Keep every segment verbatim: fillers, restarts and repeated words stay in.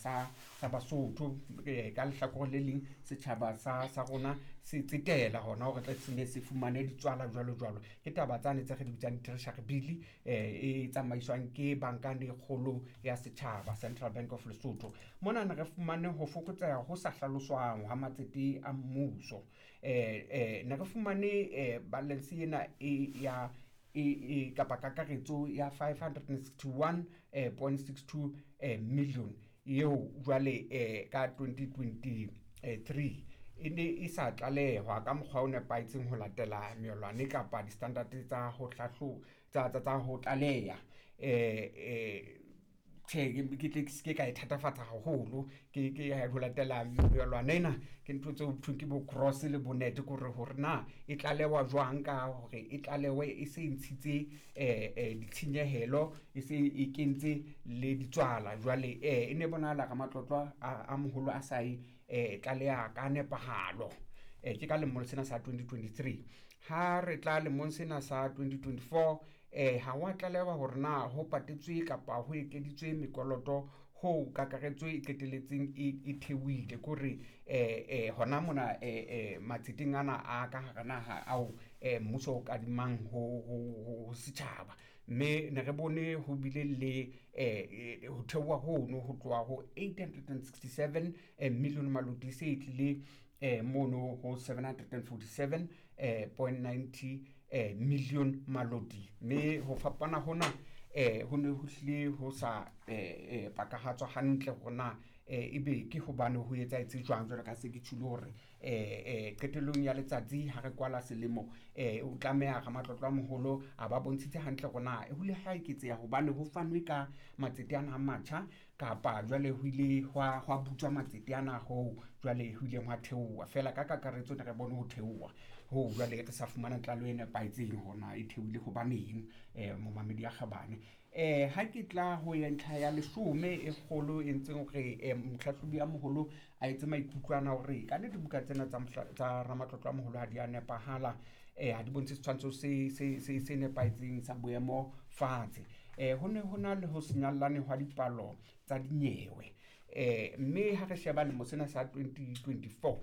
sa sa Basotho. Eh, ka lehlakore le leng setjhaba sa sa rona se tsetela hona hore tle se ne se fumane ditswala jwalo jwalo. Ke taba tsane tse re di bitsang treasury bill, eh, e tsamaiswang ke banka e kgolo ya setjhaba, Central Bank of Lesotho. Mona ne re fumane ho fokotseha ho sa hlaloswang ha matsete a mmuso. eh, eh, ne re fumane eh, balance ena e ya e, e kapa kakaretso ya five hundred sixty-one point six two million eo jwale eh, ka twenty twenty-three e ne e sa tlalehwa ka mokgwa o nepahetseng ho latela melwane kapa di-standard tsa ho hlahlo-, tsa, tsa, tsa ho tlaleha. Eh, eh, tjhe, ke, ke tle ke se ke ka e thatafatsa haholo, ke, ke ho latela melwana ena, ke ntho tseo thweng ke bo cross le bo net, ke hore, hore na e tlalewa jwang ka hore e tlalewe e se ntshitse, eh, eh, ditshenyehelo, e se e kentse le ditswala. Jwale, eh, e ne bonahala ka matlotlo a, a moholo a sa e, eh, tlaleha ka nepahalo. Eh, ke ka lemong sena sa twenty twenty-three. Ha re tla lemong sena sa twenty twenty-four, eh, ha wa tlalewa hore na ho patetswe kapa ho ekeditswe mekoloto ho kakaretso e qetelletseng e, e theohile. Ke hore, eh, eh, hona mona, eh, eh, matseteng ana a ka hara naha ao, eh, mmuso o kadimang ho, ho, ho, ho setjhaba. Mme ne re bone ho bile le, eh, eh, ho theoha hono ho tloha ho eight hundred and sixty-seven, eh, million maloti se e tlile, eh, mono ho seven hundred and forty-seven, eh, point ninety, eh, million maloti. Mme ho fapana hona, eh, ho ne ho hlile ho sa, eh, eh, pakahatswa hantle hore na, eh, ebe ke hobane ho etsahetse jwang, jwalo ka se ke tjholo hore, eh, eh, qetellong ya letsatsi ha re kwala selemo, eh, o tlameha ramatlotlo a moholo a ba bontshitse hantle hore na ho ile ha eketseha hobane ho fanwe ka matsete ana a matjha, kapa jwale ho ile hwa, hwa butswa matsete ana hoo jwale ho ileng hwa theoha. Feela ka kakaretso ne re bone ho theoha hoo jwale re sa fumana tlaleho e nepahetseng hore na e theohile hobaneng, eh, momamedi ya kgabane. Eh, ha ke tla ho ya ntlha ya leshome e kgolo e ntseng hore, eh, mohlahlobi ya moholo a etse maikutlo ana hore ka nnete dibuka tsena tsa mohla-, tsa ramatlotlo a moholo ha di a nepahala, eh, ha di bontshe setshwantsho se, se, se, se nepahetseng sa boemo fatshe. Eh, ho ne ho na le ho senyallane hwa dipalo tsa dinyewe. Eh, mme ha re sheba lemo sena sa twenty twenty-four,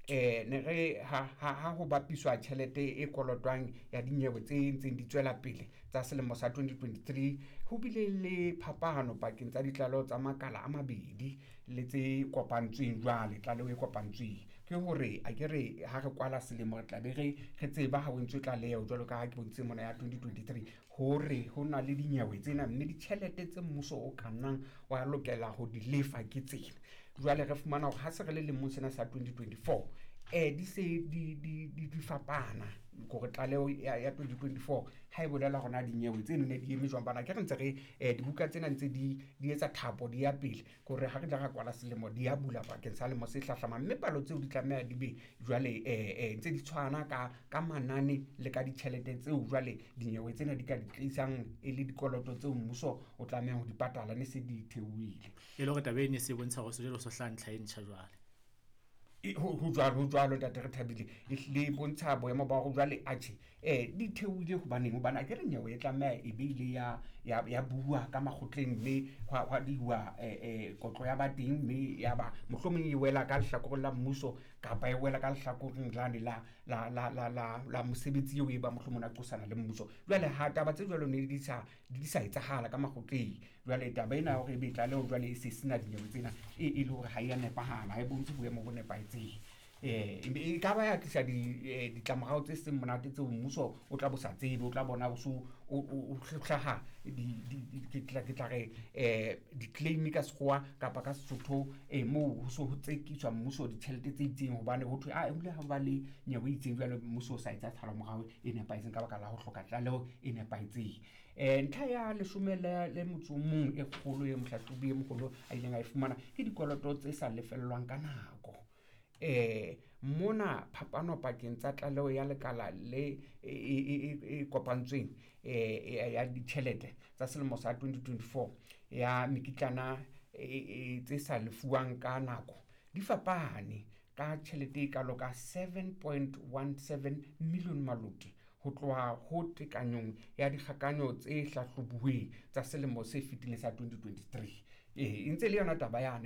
eh, ne re ha, ha, ha ho bapiswa tjhelete e kolotwang ya dinyewe tse ntseng di tswela pele tsa selemo sa twenty twenty-three, ho bile le phapano pakeng tsa ditlaleho tsa makala a mabedi le tse kopantsweng jwale, tlaleho e kopantsweng. Ke hore a ke re ha re kwala selemo re tla be re, re tseba ha ho entswe tlaleho jwalo ka ha ke bontshitse mona ya twenty twenty-three hore ho na le dinyewe tsena, mme ditjhelete tse mmuso o ka nnang wa lokela ho di lefa ke tsena. Jwale re fumana hore ha se re le lemong sena sa twenty twenty-four, eh, di se di, di, di, di fapana. Hore tlaleho ya, ya twenty twenty-four ha e bolela hore na dinyewe tseno ne di eme jwang, bana ke re ntse re, eh, dibuka tsena ntse di, di etsa thapo di ya pele, ke hore ha re tla ra kwala selemo di ya bula bakeng sa lemo se hlahlamang, mme palo tseo di tlameha di be jwale, eh, eh, ntse di tshwana ka, ka manane le ka ditjhelete tseo jwale dinyewe tsena di ka di tlisang e le dikoloto tseo mmuso o tlamehang ho di patala ne se di theohile. E le hore taba e ne se bontsha hore sejwale so hlaha ntlha e ntjha jwale. E, ho, ho jwalo, ho jwalo, ntate re thabile. E hlile e bontsha boemo ba hore jwale, atjhe, eh, di theohile hobaneng? Hobane akere nyewe e tlameha e be ile ya, ya, ya bua ka makgotleng, mme hwa, hwa dihuwa, eh, eh, kotlo ya ba teng, mme ya ba mohlomong e wela ka lehlakoreng la mmuso kapa e wela ka lehlakoreng lane la, la, la, la, la, la mosebetsi eo e ba mohlomong a qosana le mmuso. Jwale ha taba tse jwalo ne di sa, di sa etsahala ka makgotleng. Jwale taba ena ya hore ebe tlaleho jwale e se sena dinyewe tsena, e, e le hore ha e a nepahala, ha e bontshe boemo bo nepahetseng. Eh, e ka ba ya tlisa di, eh, ditlamorao tse seng monate tseo mmuso o tla bo sa tsebe, o tla bona o so, o, o, o hlaha di, di, di, ke tla, ke tla re, eh, di-claim ka sekgowa kapa ka Sesotho, eh, moo ho so ho tsekiswa mmuso ditjhelete tse itseng hobane ho thwe, ah, ebile ha ba le nyewe e itseng jwale mmuso o sa etsa tshalo-morao e nepahetseng ka baka la ho hloka tlaleho e nepahetseng. Eh, ntlha ya leshome le, le motso o mong e kgolo e mohlahlobi e moholo a ileng a e fumana ke dikoloto tse sa lefellwang ka nako. Eh, mona phapano pakeng tsa tlaleho ya lekala le e, e, e, e, e kopantsweng, eh, e, ya ditjhelete tsa selemo sa twenty twenty-four ya mekitlana e, e, tse sa lefuwang ka nako di fapane ka tjhelete e kalo ka seven point one seven million maloti ho tloha ho tekanyong ya dikgakanyo tse hlahlobuweng tsa selemo se fetileng sa twenty twenty-three. Eh, e ntse le yona taba yane.